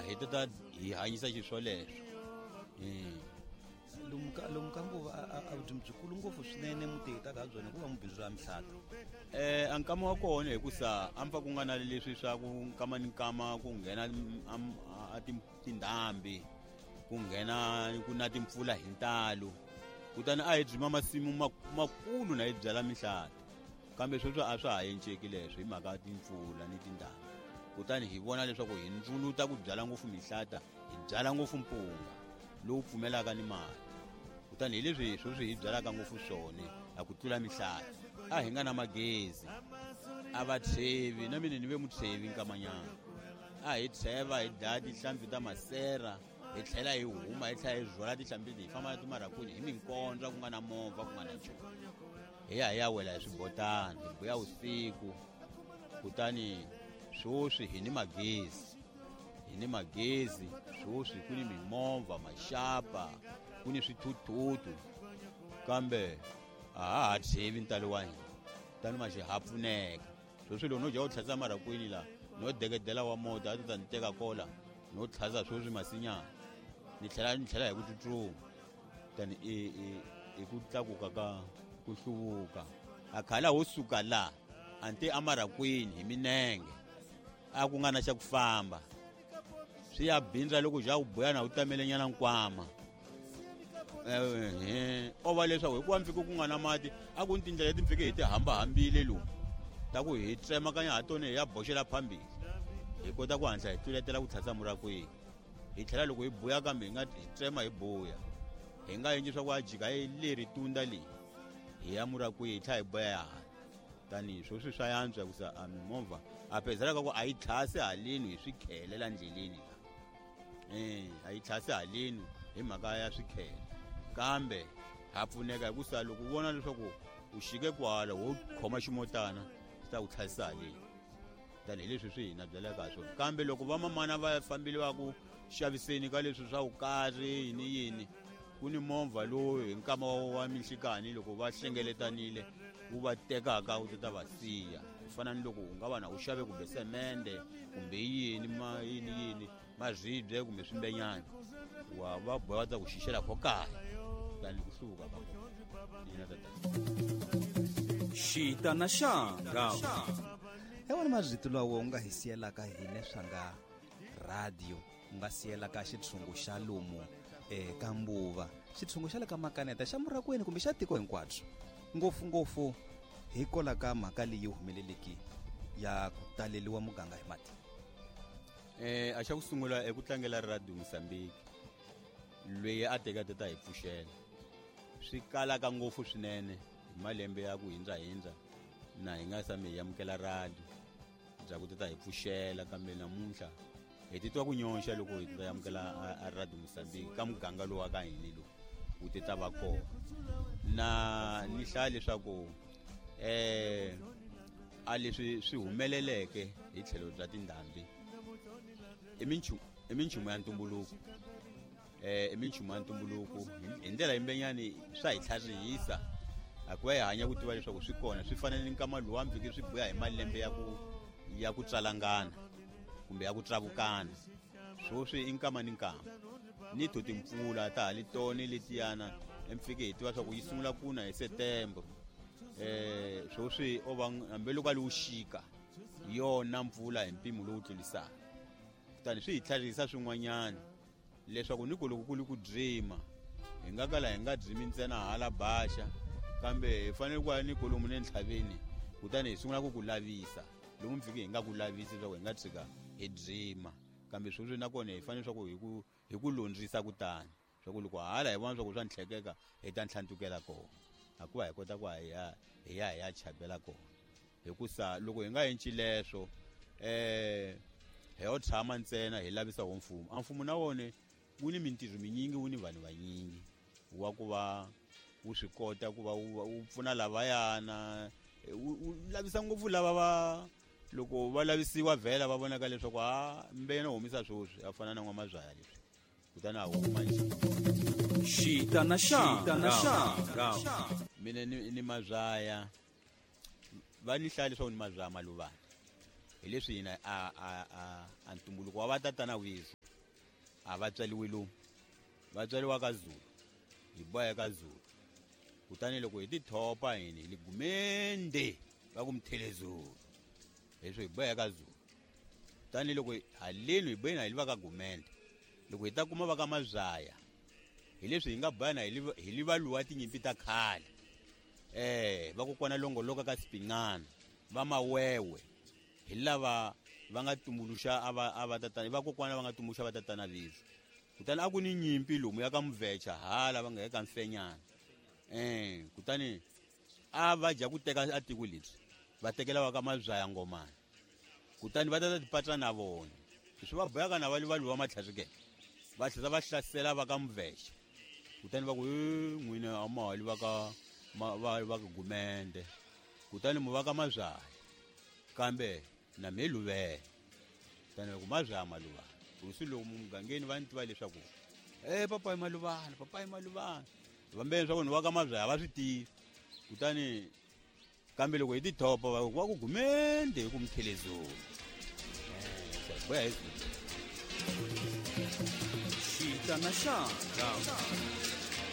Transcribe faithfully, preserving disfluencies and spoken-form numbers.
hi ta hi hanyisa xiswoleswo. Lomu ka lomu ka Mbuva a vurimi byikulu ngopfu swinene mutihitaka ha byona hikuva mubindzu ra mihlata. Eh a nkama wa kona hikusa a mpfa ku nga na leswi swa ku nkama ni nkama ku nghena a tindhambi, ku nghena ku na timpfula hi ntalo, kutani a hi byima masimu makulu na hi byala mihlata, kambe sweswo a swa ha enceki leswo hi mhaka timpfula ni tindhambi. Kutani hi vona leswaku hi ndzuluta ku byala ngopfu mihlata, hi byala ngopfu mpunga lowu pfumelaka ni mati. Kutani hi leswi sweswi hi byalaka ngopfu swona a ku tlula mihlata. A hi nga na magezi, a va tshevi na mina ni ve mutshevi nkamanyana. A hi tsheva hi dlaya tihlampfi ta masera, hi tlhela hi huma hi tlhela hi rhwala tihlampfi leti hi famba na timarakwini hi minkondza ku nga na movha ku nga na nchumu. Hi ya hi ya wela hi swibotana, hi buya usiku. Kutani sweswi hi ni magezi, hi ni magezi sweswi ku ni mimovha, maxapa, ku ni swithuthuthu, kambe a ha ha tshevi ntalo wa hina. Tani ma ha pfuneka sweswi loko no dya u tlhasa marakwini la no dekedela wa mota a ti ta ni teka kola no tlhasa sweswi masinyana ni tlhela ni tlhela hi ku tsutsuma. Tani i i i ku tlakuka ka ku hluvuka. A khala ho suka la a nte amarakwini hi minenge a ku nga na xa ku famba, swi ya bindza loko ja ku buya na u tamelenyana nkwama. Eh o va leswaku hikuva mfike ku nga na mati a ku ni tindlela leti mfike hi ti hambahambile lomu ta ku hi tsemakanya ha tona hi ya boxela phambili, hi kota ku hatla hi tluletela ku tlhasa murakwini. Hi tlhela loko hi buya kambe hi nga hi tsema hi buya, hi nga endli swa ku a jika hi leri tunda leyi hi ya murakwini hi tlhela hi buya ya hala. Tani sweswi swa yantswa hikusa a mimovha a pezelaka ku a yi tlhasi haleni hi swikhele la ndleleni la. Eh a yi tlhasi haleni hi mhaka ya swikhele, kambe ha pfuneka hikusa loko u vona leswaku u xike kwala wo khoma ximotana xi ta ku tlhasisa haleni. Tani hi leswi swi hina byelaka ha swona. Kambe loko vamamana va fambile va ku xaviseni ka leswi swa vukarhi yini yini, ku ni movha lowu hi nkama wa minhlikani loko va hlengeletanile wu va tekaka wu ta va siya. Ku fana ni loko u nga va na u xave kumbe semende kumbe yini ma yini yini maribye kumbe swimbenyana, wa va boha va ta ku xixela kho kaya. Tani ku hluvuka ka kona. Ina tata. Xita na xanga. Hi wona marito lawa u nga hi siyelaka hina swa nga radio, u nga siyelaka xitshungu xa lomu eka Mbuva, xitshungu xa le ka Makaneta, xa Murakwini kumbe xa tiko hinkwabyo, ngopfungopfu hikwalaho ka mhaka leyi humeleleke ya ku taleliwa muganga hi mati. Eh a xa ku sungula eku tlangela Radio Mozambique loyi a teka tata hi pfuxela swi kalaka ngopfu swinene hi malembe ya ku hindza hindza na hi nga sami hi amukela radio bya ku tata hi pfuxela, kambe namuntlha hi titwa ku nyonxa loko hi ta amukela a Radio Mozambique ka muganga lowu wa ka hina lowu wu ti ta va kona. Na ni hlaya leswaku eh a leswi swi humeleleke hi tlhelo bya tindhambi i minchumu i minchumu ya ntumbuluko. Eh i minchumu ya ntumbuluko hi ndlela yimbenyani swa hi tlharihisa a ku va hi hanya ku tiva leswaku swi kona, swi fanele ni nkama lowu wa mfike swi buya hi malembe ya ku ya ku tswalangana kumbe ya ku tsavukana. Sweswi i nkama ni nkama ni to timpfula ta ha li tona letiyana emfike hi tiva swa ku yi sungula ku na hi September. Eh sweswi o va hambi loko a li wuxika yona mpfula hi mpimo lowu tlulisaka. Kutani swi hi tlharihisa swin'wanyana leswaku ni ku loko ku li ku dzima hi nga kala hi nga dzimi ntsena hala baxa, kambe hi fanele ku ya ni kolomu ne ntlhaveni, kutani hi sungula ku ku lavisa lomu mfike hi nga ku lavisi leswaku hi nga tshika hi dzima. Kambe sweswi nakona hi fanele swa ku hi ku hi ku londzisa kutani swa ku loko hala hi vona swa ku swa ntlhekeka hi ta ntlhantukela kona, hikuva hi kota ku hi ya hi ya hi ya chapela kona. Hikusa loko hi nga endli leswo eh hi yo tshama ntsena hi lavisa wo mfumo. A mfumo na wona wu ni mintirho minyingi, wu ni vanhu vanyingi wa ku va wu swi kota ku va wu pfuna lavayana, wu lavisa ngopfu lava va loko va lavisiwa vhela va vonaka leswaku a mbena humisa sweswi a fana na n'wamazwaya leswi kutani a huma nje. Xita na xanga. Mina ni ni mazwaya va ni hlaya leswaku ni mazwaya maluvana hi leswi hina a a a a ntumbuluko wa vatatana wizu A va tswariwi lomu, va tswariwa ka Zulu, hi boya ka Zulu. Kutani loko hi tithopa hini hi ligumende va ku Mthelezulu, leswi hi boya ka Zulu. Kutani loko haleni hi boyeni hi li va ka Gumende, loko hi ta kuma va ka Mazaya, hi leswi hi nga boyana hi li hi li va luwa tinyimpi ta khale. Eh, va kokwana longoloka ka Sipingana, va Mawewe, hi lava va nga tumbuluxa a va a va tatana, va kokwana va nga tumbuluxa va tatana Vizo. Kutani a ku ni nyimpi lomu ya ka Mvecha hala va nga eka Mfenyana. Eh, kutani a va dya ku teka a tiko lebyi, va tekela va ka Mazaya ngomana. Kutani va ta tipatsa na vona. Leswi va boyaka na va li va luwa matlhari va tlhela va hlasela va ka Mvecha. Kutani va ku e n'wina a ma hali va ka va va ka Gumende. Kutani mu va ka Mazaya. Kambe na me luvela. Kutani va ku Mazaya maluvana. Hosi loko mugangeni va ni tiva leswaku eh papa i maluvana, papa i maluvana. Vambeni swa ku ni va ka Mazaya va swi tivi. Kutani kambe loko hi tithopa va ku va ku Gumende hi ku Mthelezulu. Eh, boya hi Xitana xanga.